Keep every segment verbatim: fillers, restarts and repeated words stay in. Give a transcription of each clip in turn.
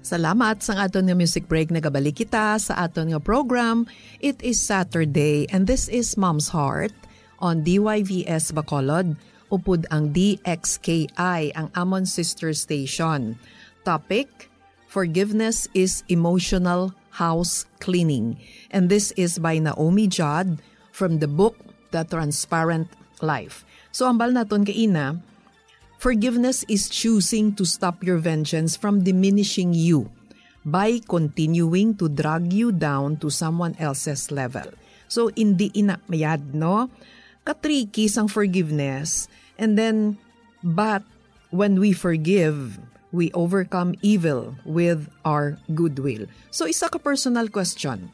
Salamat sang aton nga music break. Nagabalik kita sa aton nga program. It is Saturday and this is Mom's Heart on D Y V S Bacolod, upod ang D X K I, ang amon sister station. Topic: Forgiveness is emotional house cleaning. And this is by Naomi Judd from the book The Transparent Life. So, hambal naton kaina, forgiveness is choosing to stop your vengeance from diminishing you by continuing to drag you down to someone else's level. So, hindi ina mayad, no? Ka-tricky sang forgiveness. And then, but when we forgive, we overcome evil with our goodwill. So, isa ka personal question: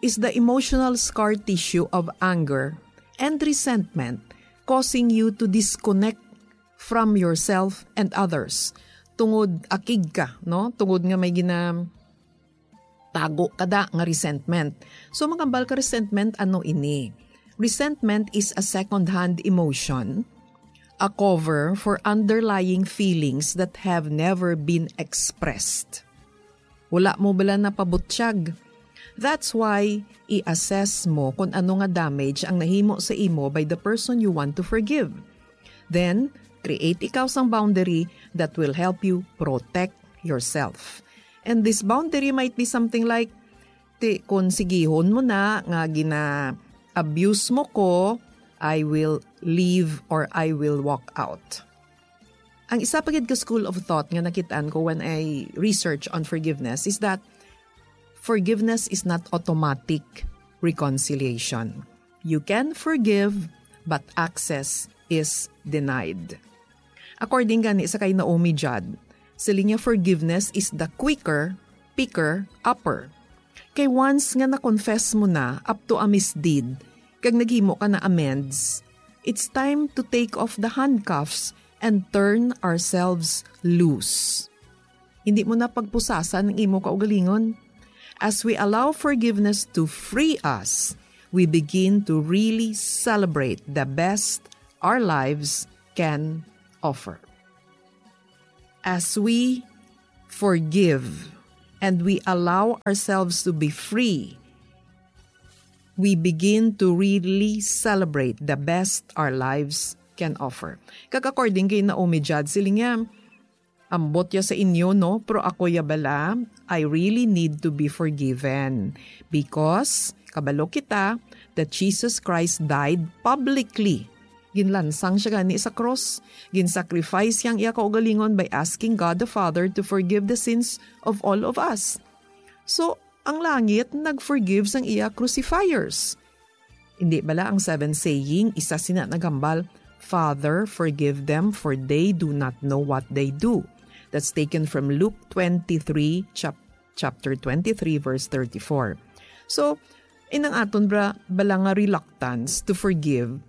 is the emotional scar tissue of anger and resentment causing you to disconnect from yourself and others? Tungod akig ka, no? Tungod nga may gina-, tago ka da nga resentment. So, magambal ka resentment, ano ini? Resentment is a second-hand emotion, a cover for underlying feelings that have never been expressed. Wala mo bala napabutyag. That's why i-assess mo kung ano nga damage ang nahimo sa imo by the person you want to forgive. Then, create ikaw sang boundary that will help you protect yourself. And this boundary might be something like, ti, kung sigihon mo na nga gina-abuse mo ko, I will leave or I will walk out. Ang isa pa gid ka school of thought nga nakitaan ko when I research on forgiveness is that forgiveness is not automatic reconciliation. You can forgive, but access is denied. According gani sa kay Naomi Judd, siling niya, forgiveness is the quicker, picker, upper. Kay once nga na-confess mo na up to a misdeed, kag naghimo ka na amends, it's time to take off the handcuffs and turn ourselves loose. Hindi mo na pagpusasan ang imo kaugalingon. As we allow forgiveness to free us, we begin to really celebrate the best our lives can offer. As we forgive and we allow ourselves to be free, we begin to really celebrate the best our lives can offer. Kag according kay Naomi Judd, siling niya, "Ambot ya sa inyo, no? Pero ako ya bala, I really need to be forgiven. Because, kabalo kita that Jesus Christ died publicly." Ginlansang siya gani sa krus. Gin-sacrifice yang iya kaugalingon by asking God the Father to forgive the sins of all of us. So, ang langit nag-forgive sang iya crucifiers. Hindi bala ang seven saying, isa sina naghambal, "Father, forgive them, for they do not know what they do." That's taken from Luke twenty-three, chap-, chapter twenty-three, verse thirty-four. So, inang aton bra-, bala nga reluctance to forgive,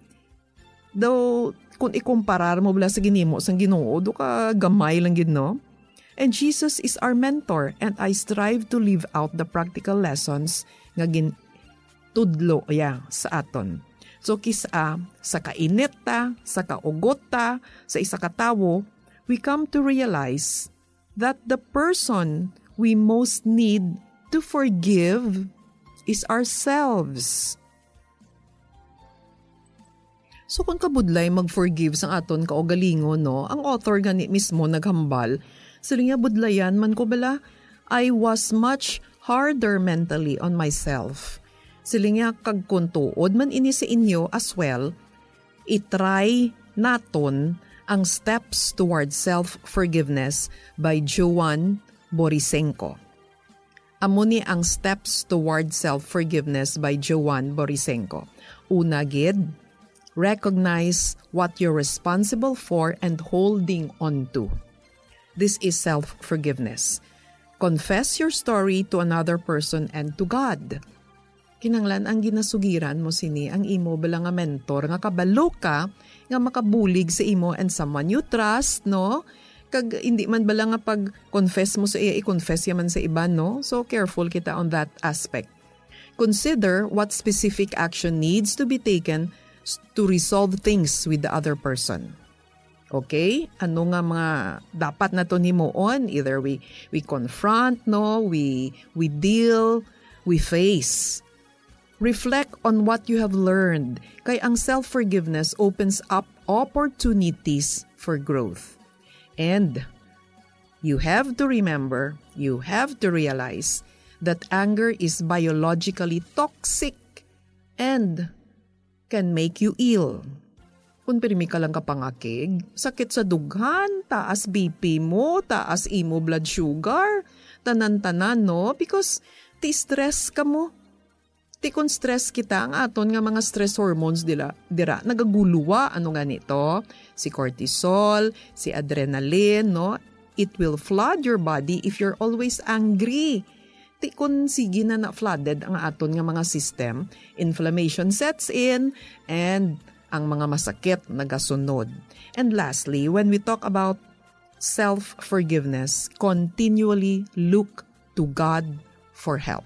though, kung ikumparar mo bala sa ginhimo sang Ginoo, do ka gamay lang gid, no? And Jesus is our mentor, and I strive to live out the practical lessons nga gin-, tudlo iya sa aton. So, kis-a sa kainit ta, sa kaugot ta, sa isa ka tawo, we come to realize that the person we most need to forgive is ourselves. So, kung kabudlay mag-forgive sang aton kaugalingon, no, ang author gani mismo naghambal, siling niya, "Budlayan man ko bala, I was much harder mentally on myself." Siling niya, kag kung tuod man ini sa inyo as well, i-try naton ang Steps Toward Self-Forgiveness by Joan Borisenko. Amo ni ang Steps Toward Self-Forgiveness by Joan Borisenko. Una gid, recognize what you're responsible for and holding on to. This is self-forgiveness. Confess your story to another person and to God. Kinahanglan ang ginasugiran mo sini ang imo bala nga mentor nga kabalo ka nga makabulig sa imo and someone you trust, no? Kag hindi man bala nga pag-confess mo sa iya, i-confess ya man sa iban, no? So, careful kita on that aspect. Consider what specific action needs to be taken s-, to resolve things with the other person. Okay? Ano nga mga dapat naton himuon? Either we we confront, no? We we deal, we face. Reflect on what you have learned. Kay ang self-forgiveness opens up opportunities for growth. And you have to remember, you have to realize that anger is biologically toxic and can make you ill. Kung pirmi ka lang kapangakig, sakit sa dughan, taas B P mo, taas imo blood sugar, tanan-tanan, no? Because ti stress ka mo. Ti kung stress kita, ang aton nga mga stress hormones dila, dira, nagaguluwa. Ano nga nito? Si cortisol, si adrenaline, no? It will flood your body if you're always angry. Ti kun sige na na-flooded ang aton nga mga system, inflammation sets in, and ang mga masakit nagasunod. And lastly, when we talk about self-forgiveness, continually look to God for help.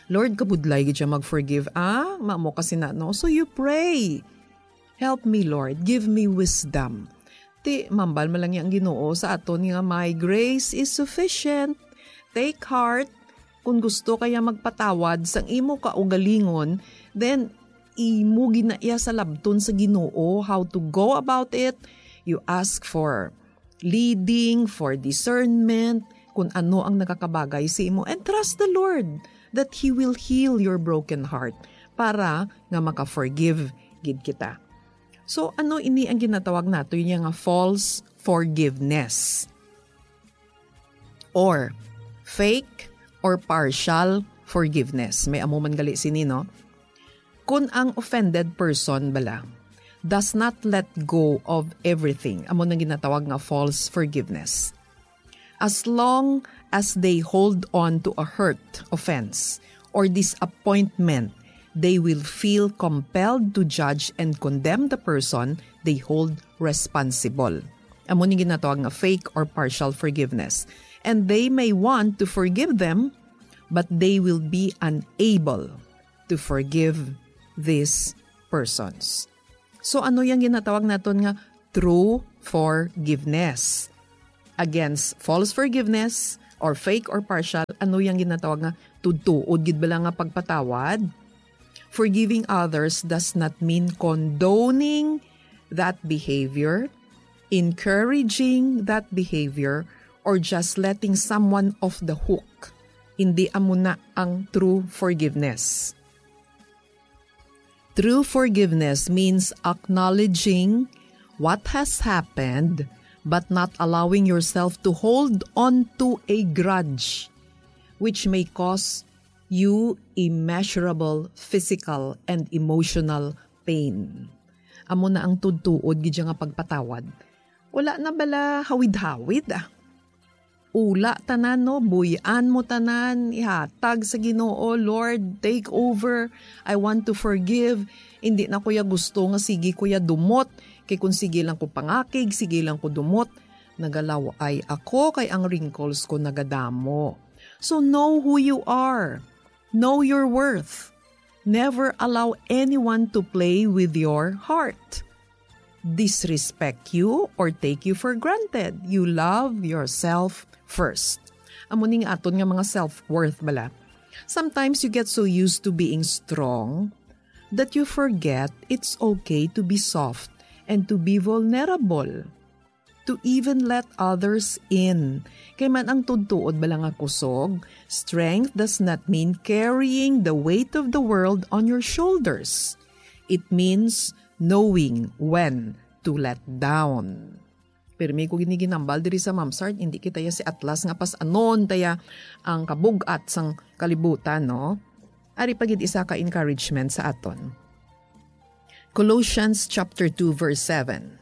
Lord, kabudlay gid siya mag-forgive, ah? Mamo kasi na, no? So you pray, "Help me, Lord. Give me wisdom." Ti, mambal man lang ang Ginoo sa aton nga, "My grace is sufficient." Take heart. Kung gusto kaya magpatawad sang imo kaugalingon, then imo ginaiya sa labton sa Ginoo how to go about it. You ask for leading, for discernment, kung ano ang nakakabagay sa imo. And trust the Lord that He will heal your broken heart para nga maka-forgive gid kita. So, ano ini ang ginatawag nato niya nga false forgiveness? Or fake or partial forgiveness. May amo man gali sini, no? Kun ang offended person bala does not let go of everything, amo nang ginatawag nga false forgiveness. As long as they hold on to a hurt, offense, or disappointment, they will feel compelled to judge and condemn the person they hold responsible. Amo ni ginatawag nga fake or partial forgiveness. And they may want to forgive them, but they will be unable to forgive these persons. So ano yang ginatawag naton nga true forgiveness? Against false forgiveness or fake or partial, ano yang ginatawag nga tuod-tuod gid bala nga pagpatawad? Forgiving others does not mean condoning that behavior, encouraging that behavior, or just letting someone off the hook. Hindi amo na ang true forgiveness. True forgiveness means acknowledging what has happened but not allowing yourself to hold on to a grudge, which may cause you immeasurable physical and emotional pain. Amo na ang tuod-tuod gid siya nga pagpatawad. Wala na bala hawid-hawid, ah. Ula tanan, no? Buy-an mo tanan, ihatag sa Ginoo, "Lord, take over. I want to forgive." Hindi na ko ya gusto nga sige ko ya dumot. Kay kung sige lang ko pangakig, sige lang ko dumot, nagalaw-ay ako kay ang wrinkles ko nagadamo. So know who you are. Know your worth. Never allow anyone to play with your heart, disrespect you, or take you for granted. You love yourself first. Amo ning aton nga mga self-worth bala. Sometimes you get so used to being strong that you forget it's okay to be soft and to be vulnerable, to even let others in. Kay man ang tuod-tuod bala nga kusog, strength does not mean carrying the weight of the world on your shoulders. It means knowing when to let down. Pirmi ko gini ginambal diri sa Mamsart, hindi kita ya si Atlas nga pas-anon taya ang kabug-at sang kalibutan, no? Ari pa gid isa ka encouragement sa aton. Colossians chapter two, verse seven.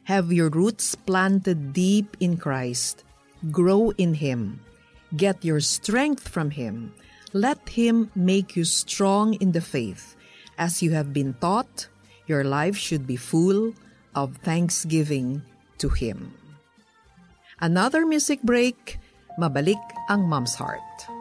Have your roots planted deep in Christ. Grow in Him. Get your strength from Him. Let Him make you strong in the faith. As you have been taught, your life should be full of thanksgiving to Him. Another music break. Mabalik ang Mom's Heart.